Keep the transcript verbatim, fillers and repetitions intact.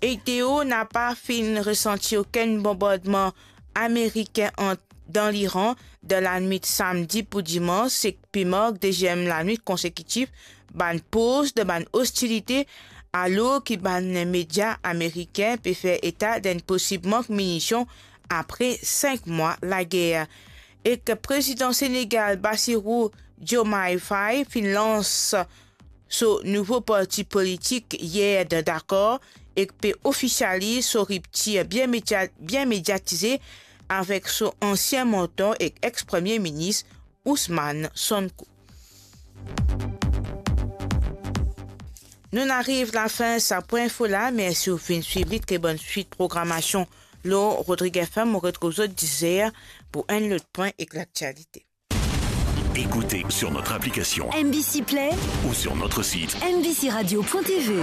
Eteo napa finn resanti okenn bonbardman amerikin ant, dan Liran dan lanwit samdi pou dimans, seki pe mark deziem lanwit konsekitif bann poz dan bann ostilite, alor ki bann media amerikin pe fer eta d'enn posib mank minision apre sink mwa lager. Ek Prezidan Senegal Bassirou Diomaye Faye finn lans so nouvo parti politik yer dan Dakar ek pe ofisializ so riptir bien media-, bien mediatize avek so ansien mantor ek ex-Premie Minis Ousmane Sonko. Nou'nn ariv lafin sa pwin info la. Mersi ou finn swiv li. Tre bonn swit programasion lor Rodrig F M. Mo retrouv zot dis er pou enn lot pwin ek laktialite. Écoutez sur notre application M B C Play ou sur notre site M B C radio point T V.